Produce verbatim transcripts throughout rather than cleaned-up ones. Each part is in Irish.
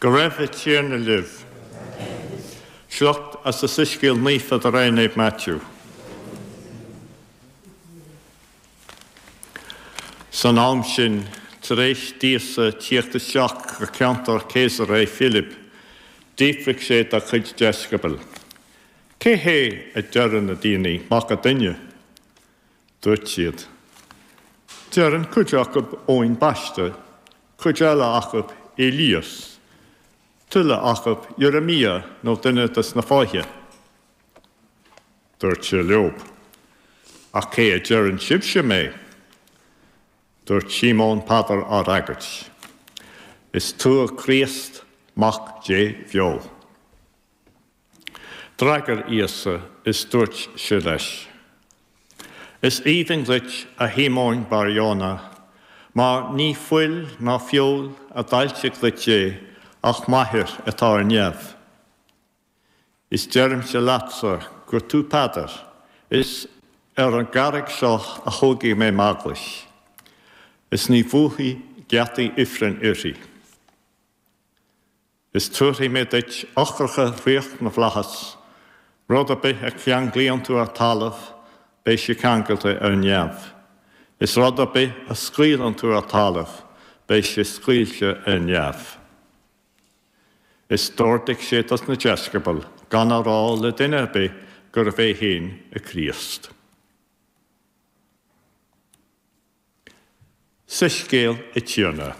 Go raibh an Tiarna libh. Sliocht as an Soiscéal Naofa de réir Naomh Maitiú. San am sin, tar éis d'Íosa tíocht isteach go ceantar Caesarea Philippi, d'fhiafraigh sé dá chuid deisceabal, Cé hé a deireann na daoine Mac an Duine? Dúirt siad, Deireann cuid acu Eoin Baiste, cuid eile acu Éilias, tuilleadh acu Irimia nó duine de na fáithe. Dúirt sé leo, Ach cé a deireann sibhse mé? Dúirt Síomón Peadar á fhreagairt, Is tú an Críost, Mac Dé bheo. D'fhreagair Íosa is dúirt sé leis, Is aoibhinn duit, a Shíomóin Bar-Ióna, mar ní fuil ná feoil a d'fhoilsigh duit é ach m'Athair atá ar neamh. Is deirimse leatsa gur tú Peadar, is ar an gcarraig seo a thógfaidh mé m'eaglais, is ní bhuafaidh geataí ifrinn uirthi. Is tabharfaidh mé duit eochracha ríocht na bhflaitheas, rud ar bith a cheanglaíonn tú ar talamh, beidh sé ceangailte ar neamh. Is rud ar bith a scaoileann tú ar talamh, beidh sé scaoilte ar neamh. Is d'ordaigh sé dos na deisceabail gan a rá le duine ar bith gurbh é féin an Críost. Soiscéal an Tiarna.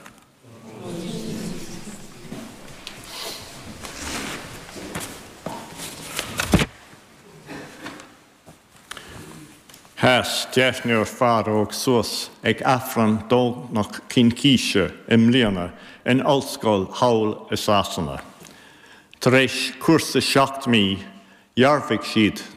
Sheas deichniúr fear óg suas ag Aifreann Domhnach Cincíse i mbliana in Ollscoil Hull i Sasana. Tar éis cúrsa seacht mí, dhearbhaigh siad